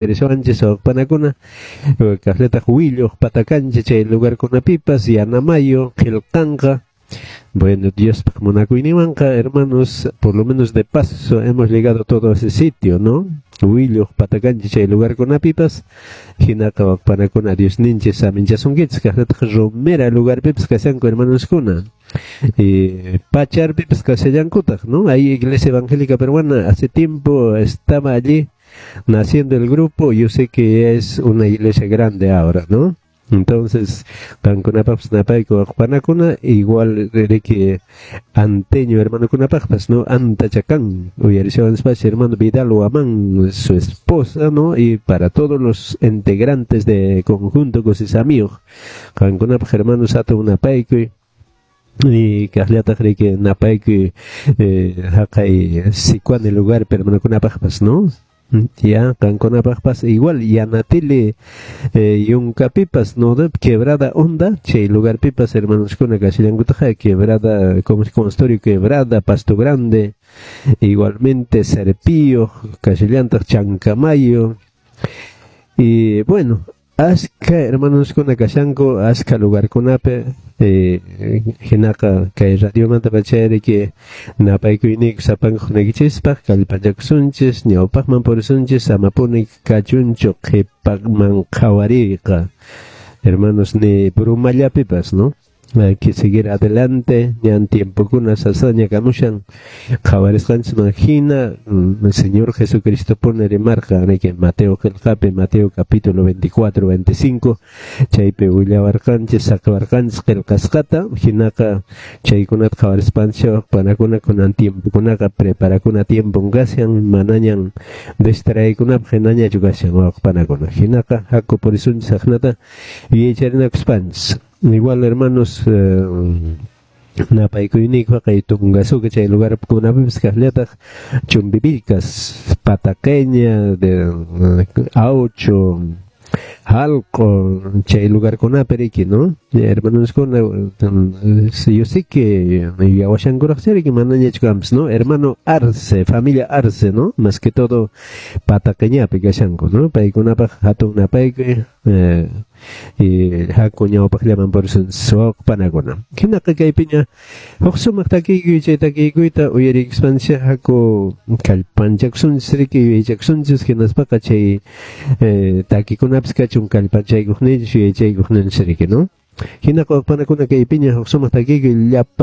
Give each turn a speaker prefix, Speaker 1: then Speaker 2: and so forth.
Speaker 1: Uyarisunchis wawqipanakuna, kaqllataq Willuq Patakancha chay lugarkunapipas Yanamayo qillqanqa. Bueno, Diospaq munakuyninwanqa, hermanos, por lo menos de paso hemos llegado a todo ese sitio, ¿no? Willuq Patakancha chay lugarkunapipas hinaqa wawqipanakuna Diosninchis saminchasunkichis kaqllataq Romera lugarpipas kashanku hermanoskuna. Y Pacharpipas kashallankutaq, ¿no? Ahí Iglesia Evangélica Peruana hace tiempo estaba allí naciendo el grupo, yo sé que es una iglesia grande ahora, ¿no? Entonces, qankunapaqpas napayku wawqipanakuna, igual riki anteño hermanokunapaqpas, ¿no? Antachakan, uyarishawanspash hermano Vidal Huamán, su esposa, ¿no? Y para todos los integrantes de Conjunto Kusisamiyuq, qankunapaq hermanos hatun napaykuy, y kaqllataq riki napaykuy haqay Sicuani lugar hermanokunapaqpas, ¿no? Ya, qankunapaqpas igual Yanatili yunkapipas, ¿no? Quebrada Honda, chay lugarpipas hermanoskuna kashallankutaq Quebrada, como es consultorio Quebrada, Pasto Grande, igualmente Serpío, kashallantaq Chancamayo, y bueno, aska hermanoskuna kashanku, aska lugarkunapi, hinaqa kay radiomanta pachayri napaykuyniyku sapanka hunaykichispak kallpachakusunchis, ñawpaqman purisunchis, amapuni kachunchu qhipaqman qhawariyqa, hermanos, ni brumallapipas, ¿no? Hay que seguir adelante, ñan tiempokuna sasaña kamushan, qhawarisqanchisman hina, el Señor Jesucristo pone rimarqa, riki Mateo qillqapi, Mateo capítulo 24, 25, chaypi willawarqanchis, saqawarqanchis qillqasqata, hinaqa chaykunata qhawarispanchis panakuna kunan tiempokunaqa preparakuna tiempon kashan, manañan distraekunapaq hinañachu kashan wawqipanakuna, hinaqa haku purisunchis aqnata yuyaycharinakuspanchis. Igual, hermanos, napaykuyniykupaq kay Tungasuca chay lugarkunapipis kaqllataq Chumbivilcas, Pataqueña, de Aucho, Jalco, chay lugarkunapi riki, ¿no? Hermanoskuna, yo sé que yawashankuraqcha riki manañachu kanpas, ¿no? Hermano Arce, familia Arce, ¿no? Más que todo Pataqueñapi kashanku, ¿no? Paykunapaq hatun napaykuy, y haku ñawpaqllaman purisunchis wawqipanakuna. Hinaqa kaypiña huk sumaq takiykuy, chay takiykuyta uyarikuspanchis haku kallpanchakusunchis riki yuyaychakusunchis, hinaspaqa chay takikunapis kachun kallpanchaykuqninchis yuyaychaykuqninchis riki, ¿no? Hinaqa wawqipanakuna kaypiña huk sumaq takiykuy llapa